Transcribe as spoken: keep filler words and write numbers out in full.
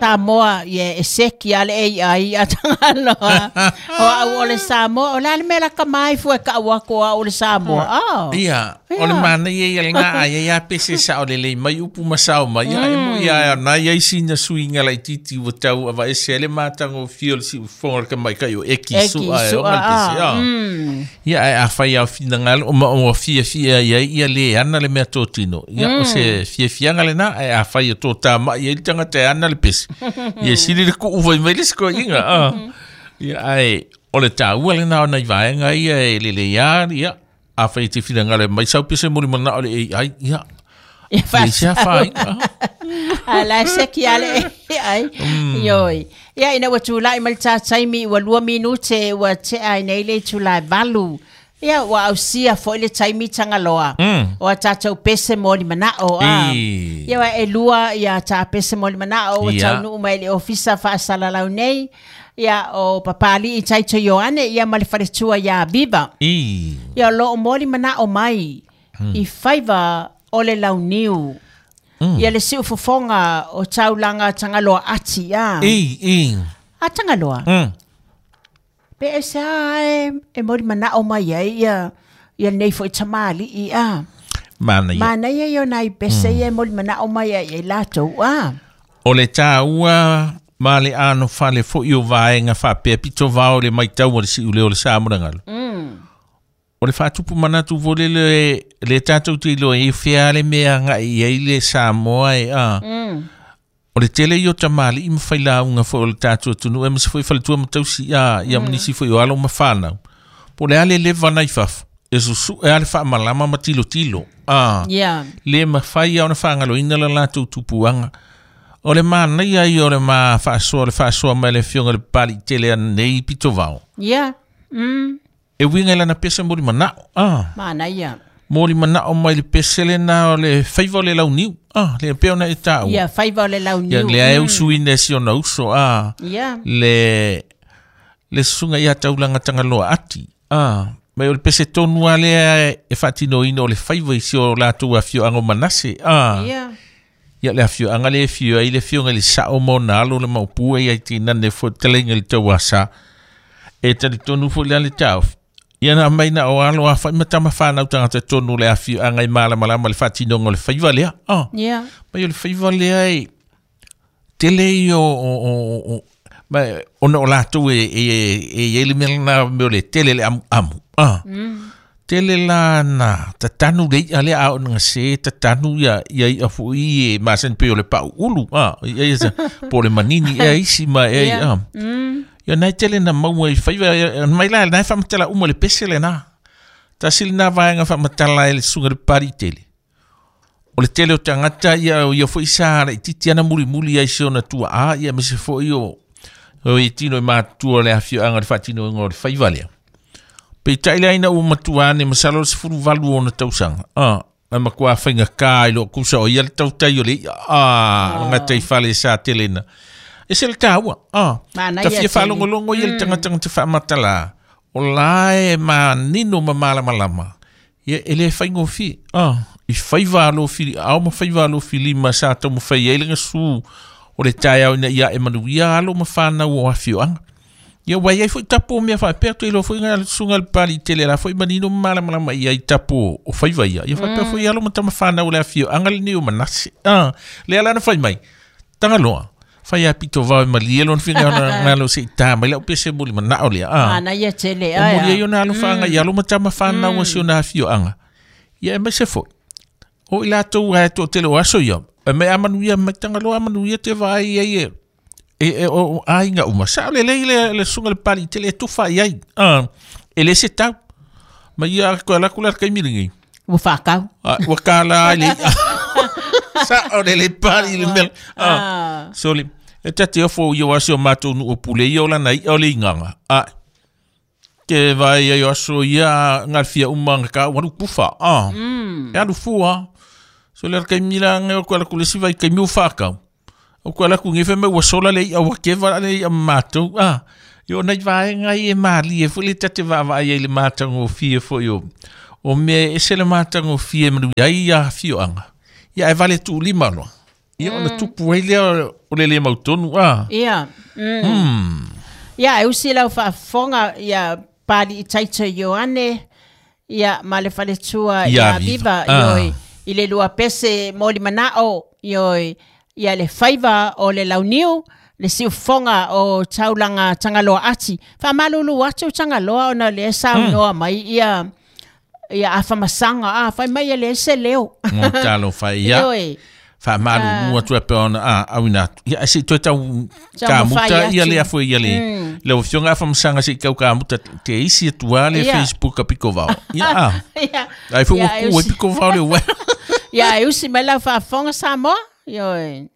Samoa ia e seki ale A I a Tagaloa. O au o le Samoa o le ale mea laka mai fua ka au ako a o le Samoa. Oh. Ia, o le mana ia ia lena a ia ia pese sa o le lei mai upu masao mai ia e mo ia na ia isi na suinga laititi ua tau ava ese le matango fio le si ufonga le kamai kai o eki su a e o ngal pese a. Ia ai a whai au finangalo o ma o fia fia ia ia le ana le mea tōtino. Ia o se fia fianga le na ai a whai o tō tā mai ia i tangata e ana le pese. Ia sili le kuu vai mai le siko inga. Ia ai o le tāua le na o nei vaenga ia e lele ia ia a whai te finangalo mai sau pese muri mana o le A I ia. Ia Le sea whai. A la seki ale A I. Ioi. Ia ina ua tūlai mai le tātaimi ua lua minute ua te ai nei le tūlai valu. Ia ua ausia foi le taimi Tagaloa. O a tātou pese moli manao. Ia ua e lua ia tā pese moli manao o taunuu mai le ofisa faasalalau nei. Ia o papali i taito Ioane ia ma le faletua ia Viva. Ia lo o moli manao mai i faiva o le launiu. Ia le siufofoga o taulaga Tagaloa ati ia. I, i. A Tagaloa. Mm. Pe e se a e, e mori manao mai ai ia, ia nei foi tamali i a. Mana ia. Mana ia ia nai pese ia e mori manao mai ai e latou a. O le tāua ma le ano fale foi o vaenga whapea pito vao le mai tau o le siu leo le Samoa. Mm. O le whātupu manatu vole le, le tātou te iloa e whea le mea ngai i ai le Samoa e a. Mm. O le tele i o tamali i mawhai launga fo o le tātou atunu e masi foi faletua matausi a ia manisi foi o alo mawhanau. Po le ale lewa nai fafu e susu e ale whaamalama ma tilo tilo. A. Yeah. Le mawhai au na whaangalo ina la lātou tupuanga. O le mana ia i o le ma whaasoa le whaasoa mai le fionga le pali tele anei pito vao. Yeah. Mm. E winga lana pese mori manao. Ah. Mana ia. Mori manao mai le pese le na o le faiva o le launiu. Ah, le peo na e tāua. Ia, faiva o le launiu. Ia, le ae usu ine si ona uso. Ah. Ia. Le, le sunga ia taulanga Tagaloa ati. Ah. Mai o le pese tonu a lea e whaatino ina o le faiva i si o lātou a fio ango manase. Ah. Ia. Ia le afio anga le fio ai le fio ngai le sao mo na alo le maupua ia i tinane fo telenga le tauasa. E tali tonu fo le ale tau. Ia na mai na o alo a whai matama whanau tangata tonu le afio anga i malamalama le whatinonga o le whaiva lea. Ah. Yeah. Mai o le whaiva lea e tele i o, o, o, o mai ona o lātou e, e, e, e ele mea na mea o le tele le amu amu. Ah. Mm. Tele la na tatanu le ia lea a o nga se tatanu ia ia ia fo i e masen pe o le pau ulu. Ah. Ia ia po le manini e isi ma e Yeah. ah. Mm. Ia nai tele na maua i whaiva, mai la nai whamatala uma le pese le na. Tasili nā vaenga whamatala e le sunga le pari tele. O le tele o tangata ia o ia foi sa i titi ana muri muri ai se ona tua a ia me se foi o o i tino i mātua le awhio anga le whatino ingo le whaiva lea. Pe tai le aina ua matua ane masalo le sefulu valu ona tausanga. Ah, ai makua whainga kā i lo kusa o ia le tautai o le ia. Ah, nga tei whale sa tele na. E se le tāua, ah. Mana Ta ia fia tele. whalongolongo ia le tangatanga te whaamatala. O la e mā nino ma malamalama. Ia e le whaingofi, ah. I whaiva alo fili, au ma whaiva alo fili ma sa tau ma whai eile nga su o le tai au ina ia e manu ia alo ma whanau o awhioanga. Ia wai ai foi tapo mea whaipea te ilo foi ngā sunga le pali tele la foi manino malamalama ia i tapo o whaiva ia. Ia whaipea foi alo ma tama whanau le awhioanga le neo manase. Ah, le ala na whai mai. Tagaloa. Whai a pito vau ma lielo na whinga na ngalo se i tā mai lau pese muli manao lea. Ah. Mana ia tele. O muri ai ona alo whaanga i alo matama whanau mm. si ona awhioanga. Ia e mai se foi. O i lātou ai tō tele o aso ia. E mai amanu ia mai Tagaloa amanu ia te vai ai e. E, e o ainga uma. Sa le le le le sunga le pali tele e tufa i ai. Ah. E le se tau. Ma ia koe la kula kai miringi. Ua whakau. Ah, ua kāla ai le. Sa o le le pali le mel. Ah. Ah. So le e tate ofo i o aso mātou nu o pule i o lana i o le inganga. Ah. Ke vai ai o aso ia ngalfia uma nga ka waru kufa. Ah. Mm. E alu fua. So le kai mila ngai o koe la kule siva i kai miu whakau. O koe la ku ngefe me ua sola le i awa kewa le i a mātou. Ah. I o nei vaenga i e māli e fo le tate vaava ai le mātango fie fo i o. O mea e se le mātango fie manu ai ia fioanga. Ia e vale tū lima loa. Ia ona tupu ai lea o le le mautonu a. Ia. Mm. Ia e usi lau faafofoga ia Pali i Taito Ioane ia ma le faletua Ia ia Viva Viva. Ioe i le lua pese moli manao ioe ia le faiva o le launiu le siufofoga o taulaga Tagaloa ati faamalulu atu Tagaloa ona le saunoa mai ia ia afamasaga a fai mai e le se leo Mo talo fai ia. Ioe Faamalulu atu e pe ona a auina atu. Ia se toe tau Taumafai kamuta ia atu. le afo ia le. Le afioga afamasaga se i kau kamuta te isi atua le Ia. Facebook a piko vao. Ia a. Ia Ai foi Ia, ua ku e e piko vao le ua. Ia e usi mai lau faafofoga Samoa ioe.